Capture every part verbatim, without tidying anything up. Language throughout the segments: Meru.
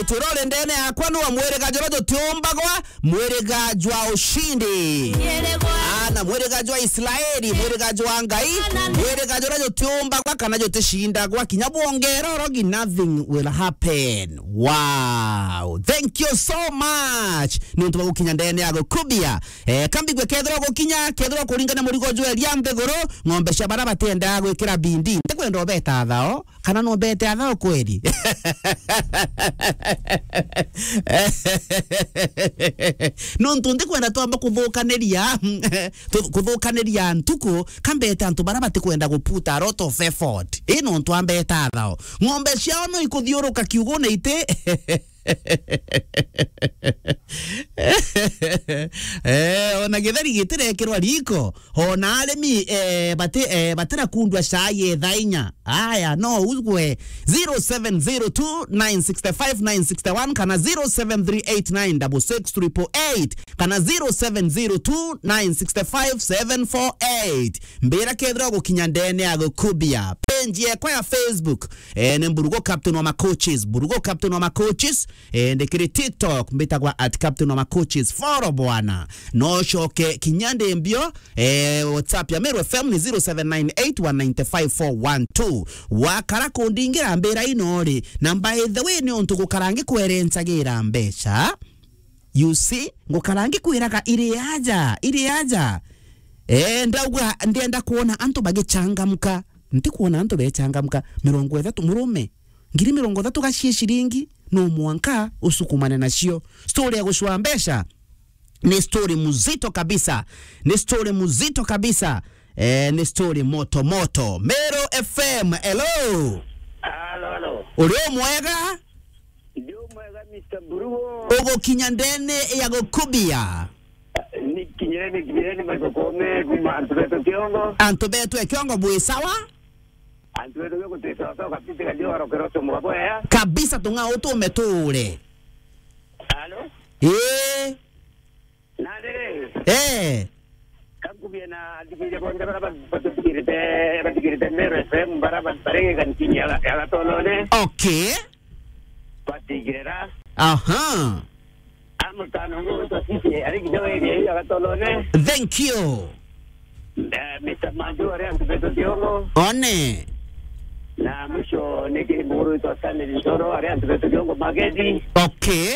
Turore ndene yakwa, nwa mwiriga jura jutiumbagwa, mwiriga jwa ushindi. Ana mwiriga jwa Israeli, mwiriga jwa Ngai, mwiriga jura jutiumbagwa kana jutishindagwa, kinya bwongera urogi, nothing will happen. Wow. Thank you so much. Ni untu bwa gukinya ndene ya gukubia. Eh, kambigwe kethirwa gukinya, kethirwa kuringana murigo jweria nthiguru, ng'ombe cia bara batiendaga gwikira bindi. Ndikwenda ubeta thao. Kana no mbete athao kweri? Nontu ndikwenda twamba kuthukaniria, tu-, kuthukaniria ntuku, ka mbete antu bara batikwenda gu put a lot of effort. Ii nontu ambeta athao. Ng'ombe ciao no ikuthiuruka kiugune iti. Eh, ona githeri gitirekirwa riko, ona arimi, eh, bati-, eh, batira kundwa cai etha inya. Aya, no ugwe. Zero seven zero two nine six five nine six one kana zero seven three eight nine six six triple eight kana zero seven zero two nine six five seven four eight. Mbira kethira gukinya ndene ya gukubia. Page yekwa ya Facebook, eh, ni Mburugo Captain wa Macoaches. Mburugo Captain wa Macoaches. Eh, ndi kiri TikTok, mbitagwa at Captain wa Macoaches. Follow bwana. No coke kinya ndi mbio, eh, WhatsApp ya Meru F M ni zero seven nine eight one nine five four one two. Wakara kundingira mbira ino ri, na by the way, ni untu gukara ngikwerencagira mbeca. You see, ngukara ngikwiraga iri aja, iri aja. Eh, ndauga ndienda kuona antu bagichangamka. Ntikuona antu bechangamka. Mirongo ithatu, murume. Ngiri mirongo ithatu gacie ciringi, no mwanka usukumane nacio. Story ya gucua mbeca ni story mzito kabisa. Ni story mzito kabisa. Eh, ni story moto moto. Meru F M, hello. Halo, halo. Uri o mwega? Ndi o mwega, Mister Mburugo. Ugukinya ndene ya gukubia. Ni kinyire, ni kinyire, ni Michael Koome, kuma antu betu Kiongo. Antu betu e Kiongo, bwi sawa? Antu betu Kiongo, twi sawa sawa kabisa, kadio arokero somo kabwea. Kabisa, tung'a utume tuure. Halo? Ee. Na riri? Ee. Kankubia na athikiria bonthe bara ba-, bathikirite, bathikirite Meru F M, bara ba-, bari kanitini ya, ya Gatolone. Okay. Batigirira. Aha. Amutano ngo witwa Sisi, ari kinya area ya Gatolone. Thank you. Eh, Mister Manju, ari antu betu Kiongo. One. Na mwisho ni kiri muguru witwa Stanley Ntoro, ari antu betu Kiongo Magedi. Okay.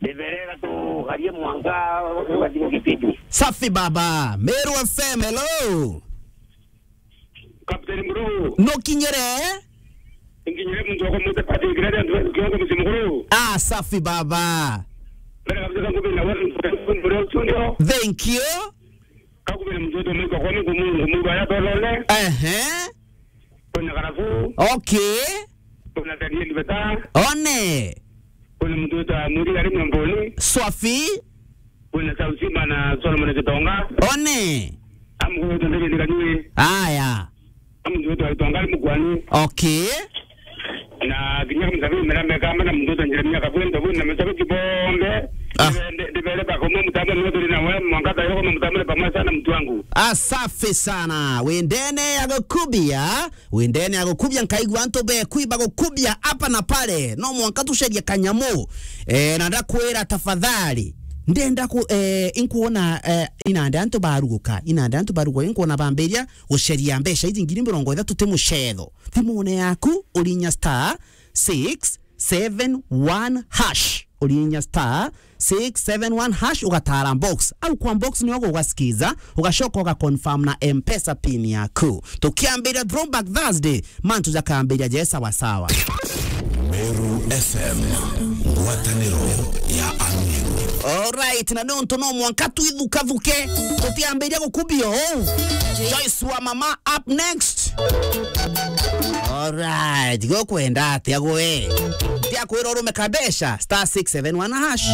Ndiberera tugarie mwanka ugathira gipindi. Safi baba. Meru F M, hello. Captain Mburugu. Nukinyire? Nkinyire muntu wa kumwita Patrick Radi, antu betu Kiongo mucii mukuru. Ah, safi baba. Mbere kabisa kankubia na wewe, Mburugu studio. Thank you. Kankubia na muntu wetu Michael Koome, ngumu, ngumu, aya Gatolone. Ehe. Kwina Karabu. Okay. Kwina Daniel Beta. One. Kwina muntu wetu Amuri ari Miomboni. Swafi. Kwina Sausima na Solomon Gitonga. One. Amu wetu ndege ni kanyui. Aya. Amu wetu Gitonga ari Mukwani. Okay. Na kinya kumsafiri mera meka mana muntu wetu Jeremia Kabwendo, na mashabiki bombe. Ah. Ndi-, ndi-, ndibere bakoma mutambo ni wetu na wewe, mwangaza yoko mutambo ni pamoja sana mtu wangu. Ah, safi sana. Wendene ya gukubia. Wendene ya gukubia, nkaigua antu bekwi bagukubia hapa na pale. No mwanka tucarie kanyamu. Eh, na ndakwira tafadhali. Ndenda ku, eh, inkuona, eh, inande antu baruguka. Inande antu baruguka, inkuona bambiria gucaria mbeca iji ngiri mirongo ithatu ti mucetho. Thimune yaku, urinya star six seven one hash. Urinya star six seven one hash, ugatara box. Au kwa box nio ugasikiza, ugacoka ugaconfirm na M-Pesa pin yaku. Tukiambiria Throwback Thursday, mantu jakambiria je sawa sawa. Meru F M, ngwataniro ya Amiru. Alright, na nontu no mwanka twithukathuke, tutiambiria gukubia uu. Joyce wa Mama up next. Alright, gukwenda atia gwe? Ndia kwira urume kabesha, star six seven one hash.